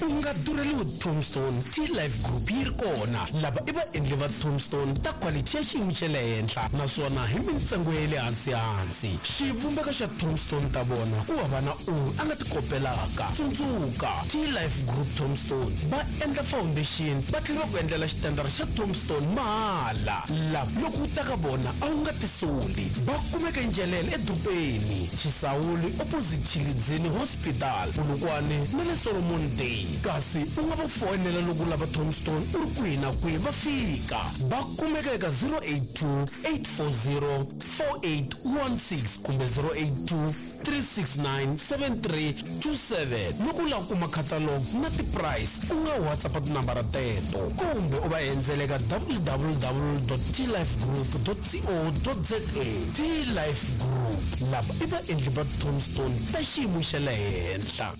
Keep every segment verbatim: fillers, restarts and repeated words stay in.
U nga durheliwi tombstone, T-Life Group yi ri kona. Lava i vaendli va tombstone ta quality ya xiyimo xa le henhla, naswona hi mintsengo ya le hansi-hansi. Xivumbeko xa tombstone ta vona ku hava na un'we a nga ti kopelaka. Tsundzuka, T-Life Group tombstone va endla foundation, va tlhela va ku endlela xitandara xa tombstone mahala. Lava loko u ta ka vona a wu nga tisoli. Va kumeka eNdzhelele edorobeni, Chisawuli opposite Tshilidzini Hospital, Polokwane na le Solomon Day. Kasi u nga va foyinela loko u lava tombstone u ri kwihi na kwihi, va fika. Va kumeka eka zero eight two eight four zero four eight one six kumbe zero eight two three six nine seven three two seven. Loko u lava ku kuma catalog na ti-price, u nga WhatsApp tinambara teto kumbe u va endzela eka w w w dot t life group dot co dot za. T-Life Group, lava i vaendli va tombstone ta xiyimo xa le henhla.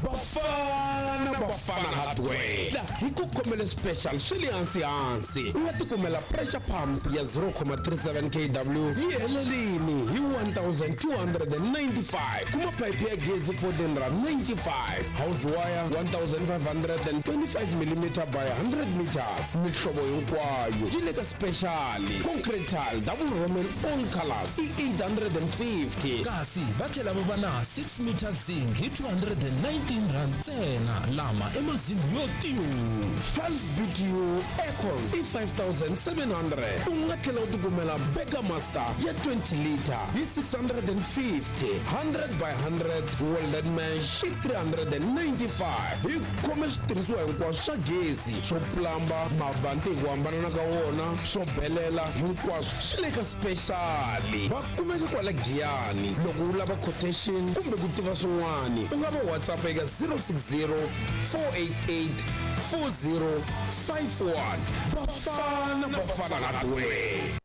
Bafana Bafana Hardware la hi ku khomele special swi le hansi hansi. U nga tikumela pressure pump ya zero comma three seven K W yi helelini hi one thousand two hundred and ninety-five. Kuma pipe ya gezi fourteen rand ninety-five, house wire one thousand five hundred and twenty-five millimeter by hundred meters. Mihlovo hinkwayo yi le ka special. Concrete tile double roman all colors i eight hundred and fifty. Kasi va tlhela va va na six meter zinc hi two hundred and nineteen rand ntsena, lama i mazingi yo tiyu. twelve B T U aircon i five thousand seven hundred. U nga tlhela u tikumela Burger Master ya twenty liter hi six hundred and fifty, hundred by hundred welded mesh i three hundred and ninety-five. Hi khome switirhisiwa hinkwaswo swa gezi, swo plumba, mavanti hi ku hambanana ka wona, swo belela, hinkwaswo swi le ka special. Va kumeka kwala Giyani. Loko u lava quotation kumbe ku tiva swin'wana, u nga va WhatsApp eka zero six zero four eight eight four zero five one. Bafana Bafana Hardware.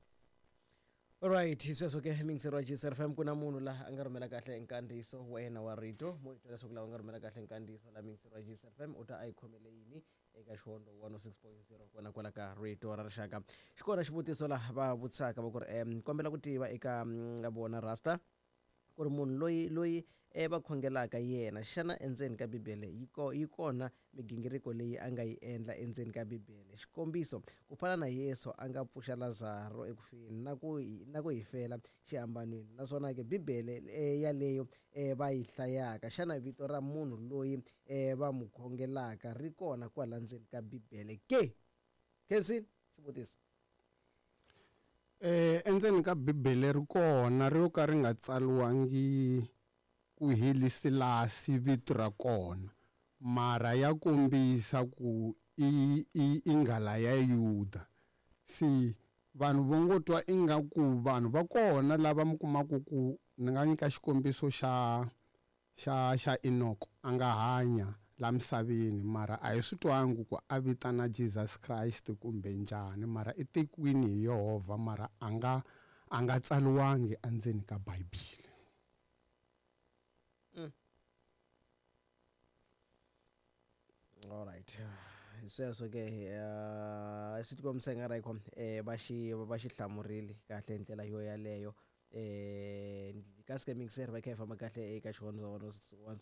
Alright, hi sweswo ke mingiseri wa G S R F M, ku na munhu laha a nga rhumela kahle nkandziyiso wa yena wa rito. Mo hi twa leswaku lava nga rhumela kahle nkandziyiso la mingiseri wa G S R F M u ta a yi khomele yini eka Xihondzo one oh six point zero kona kwala ka Rito ra Rixaka. Xi kona xivutiso laha va vutisaka va ku ri, em, kombela ku tiva eka, mm, vona Rasta ku ri munhu loyi, loyi e va khongelaka yena, xana endzeni ka Bibele yi ko-, yi kona migingiriko leyi a nga yi endla endzeni ka Bibele? Xikombiso, ku fana na Yesu a nga pfuxa Lazaro ekufeni na ku hi, na ku hi fela xihambanweni. Naswona ke Bibele, e, yaleyo, e, va yi hlayaka, xana vito ra munhu loyi, e, va n'wi khongelaka ri kona kwala ndzeni ka Bibele ke? Khensi, xivutiso. Eh, endzeni ka Bibele ri kona, ri yo ka ri nga tsariwangi ku helisilasi vito ra kona, mara ya kombisa ku i, i, i nghala ya Yuda. Se vanhu vo ngo twa ingaku vanhu va kona lava mi kumaka ku ni nga nyika xikombiso xa, xa, xa Enoch, a nga hanya la misaveni, mara a hi swi twangi ku a vitana Jesus Christ kumbe njhani, mara i tekiwini hi Yehovha, mara a nga, a nga tsariwangi endzeni ka Bibele. Mm. All right. Hi sweswo ke, eh, swi tikombisa nga ri ko, eh, va xi, va xi hlamurile kahle hi ndlela yo yaleyo. Eh, kasi ke mingiseri va kha hi famba kahle eka Xihondzo one oh six one.